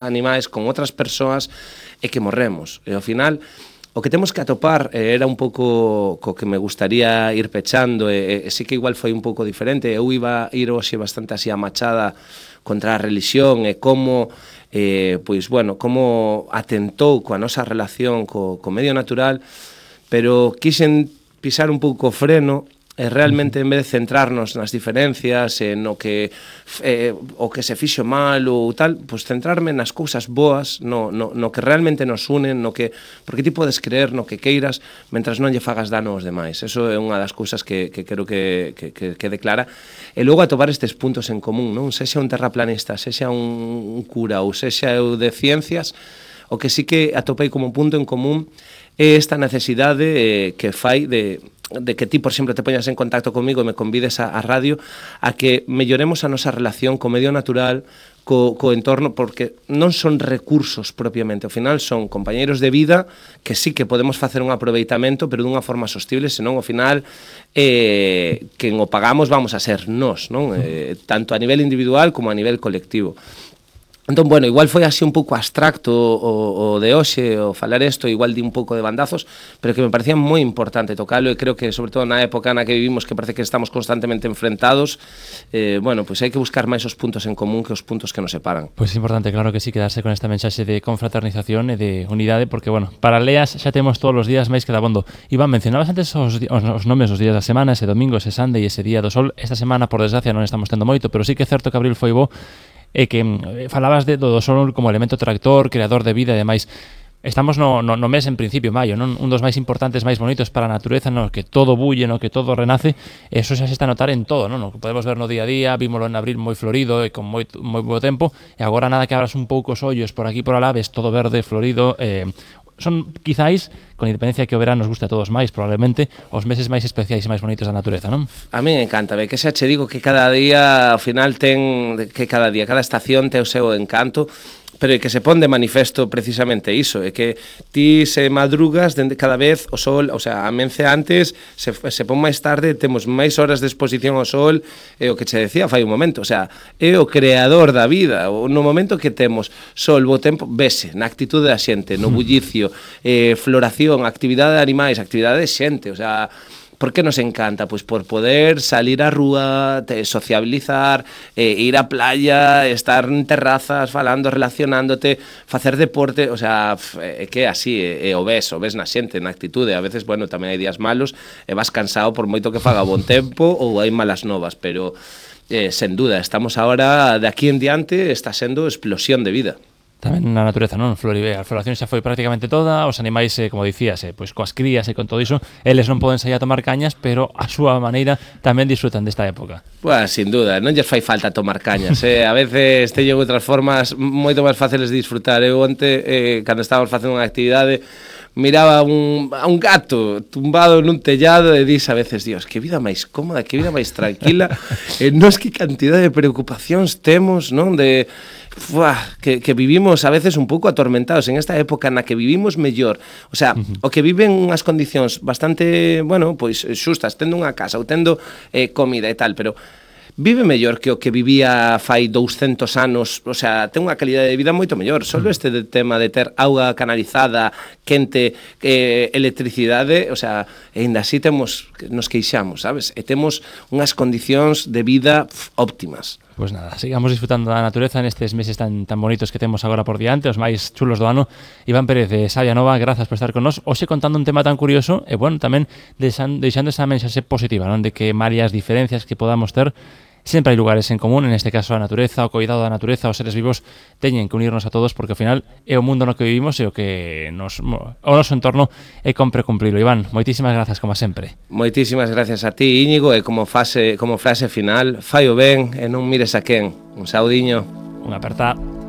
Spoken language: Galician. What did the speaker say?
animais, con outras persoas, e que morremos. E ao final, o que temos que atopar era un pouco co que me gustaría ir pechando, e sí que igual foi un pouco diferente. Eu iba a ir hoxe bastante así a machada contra a religión e como, pois, bueno, como atentou coa nosa relación co medio natural, pero quixen pisar un pouco o freno e realmente, en vez de centrarnos nas diferencias, no que o que se fixo mal ou tal, pues centrarme nas cousas boas, no que realmente nos unen, no que, porque ti podes creer no que queiras, mentras non lle fagas dano aos demais. Eso é unha das cousas que quero que quede clara. E logo atopar estes puntos en común, non? Sexa un terraplanista, sexa un cura ou sexa eu de ciencias, o que sí que atopei como punto en común é esta necesidade que fai de que ti, por exemplo, te poñas en contacto comigo e me convides a radio a que melloremos a nosa relación co medio natural, co entorno, porque non son recursos propiamente, ao final son compañeiros de vida que sí que podemos facer un aproveitamento, pero dunha forma sostible, senón ao final quen o pagamos vamos a ser nós, non? Tanto a nivel individual como a nivel colectivo. Entón, bueno, igual foi así un pouco abstracto o de hoxe, o falar isto, igual di un pouco de bandazos, pero que me parecía moi importante tocalo, e creo que, sobre todo na época na que vivimos, que parece que estamos constantemente enfrentados, bueno, pois hai que buscar máis os puntos en común que os puntos que nos separan. Pois é importante, claro que sí, quedarse con esta mensaxe de confraternización e de unidade, porque, bueno, para leas xa temos todos os días máis que dabondo. Iván, mencionabas antes os nomes dos días da semana, ese domingo, ese Sunday e ese día do sol. Esta semana, por desgracia, non estamos tendo moito, pero sí que é certo que abril foi bo, e que falabas do sol como elemento tractor, creador de vida e demais. Estamos no mes en principio, maio, non? Un dos máis importantes, máis bonitos para a natureza, no que todo bulle, no que todo renace. Eso xa se está a notar en todo, non? No que podemos ver no día a día, vímolo en abril moi florido e con moi bo tempo, e agora nada que abras un pouco os ollos por aquí por alá, ves todo verde, florido. Son, quizáis, con independencia que o verán nos guste a todos máis, probablemente, os meses máis especiais e máis bonitos da natureza, non? A mí me encanta, que xa che digo que cada día, ao final, cada estación ten o seu encanto, pero que se pon de manifesto precisamente iso, é que ti se madrugas cada vez o sol, o sea, amence antes, se pon máis tarde, temos máis horas de exposición ao sol, é o que che decía fai un momento, o sea, é o creador da vida, no momento que temos sol, bo tempo, vese, na actitude da xente, no bullicio, floración, actividade de animais, actividade de xente, o sea, por que nos encanta? Pois por poder salir á rúa, sociabilizar, ir á playa, estar en terrazas, falando, relacionándote, facer deporte, o sea, é que así, o ves na xente, na actitude, a veces, bueno, tamén hai días malos, e vas cansado por moito que faga bon tempo ou hai malas novas, pero, sen duda, estamos agora, de aquí en diante, está sendo explosión de vida. Tamén na natureza, non? A floración xa foi prácticamente toda, os animais, como dicías, pois coas crías e con todo iso, eles non poden sair a tomar cañas, pero a súa maneira tamén disfrutan desta época. Pues, sin duda, non lles fai falta tomar cañas, a veces teñen outras formas moito máis fáciles de disfrutar. Eu onte, cando estábamos facendo unha actividade, miraba a un gato tumbado nun tellado e dis a veces, Dios, que vida máis cómoda, que vida máis tranquila, nos que cantidad de preocupacións temos, non? Que vivimos a veces un pouco atormentados en esta época na que vivimos mellor, o sea, o que viven unhas condicións bastante, bueno, pois xustas, tendo unha casa ou tendo comida e tal, pero vive mellor que o que vivía fai 200 anos, o sea, ten unha calidade de vida moito mellor. Solo este tema de ter auga canalizada, quente, electricidade, o sea, ainda así nos queixamos, sabes? E temos unhas condicións de vida óptimas. Pois nada, sigamos disfrutando da natureza nestes meses tan bonitos que temos agora por diante, os máis chulos do ano. Iván Pérez de Sabia Nova, grazas por estar con nós. Hoxe contando un tema tan curioso e, bueno, tamén deixando esa mensaxe positiva, non? De que varias diferencias que podamos ter, sempre hai lugares en común, en este caso a natureza, o cuidado da natureza, os seres vivos teñen que unirnos a todos porque ao final é o mundo no que vivimos e o que o noso entorno é compre cumprilo. Iván, moitísimas grazas como sempre. Moitísimas gracias a ti, Íñigo, e como frase final, fai o ben e non mires a quen. Un saudiño. Unha aperta.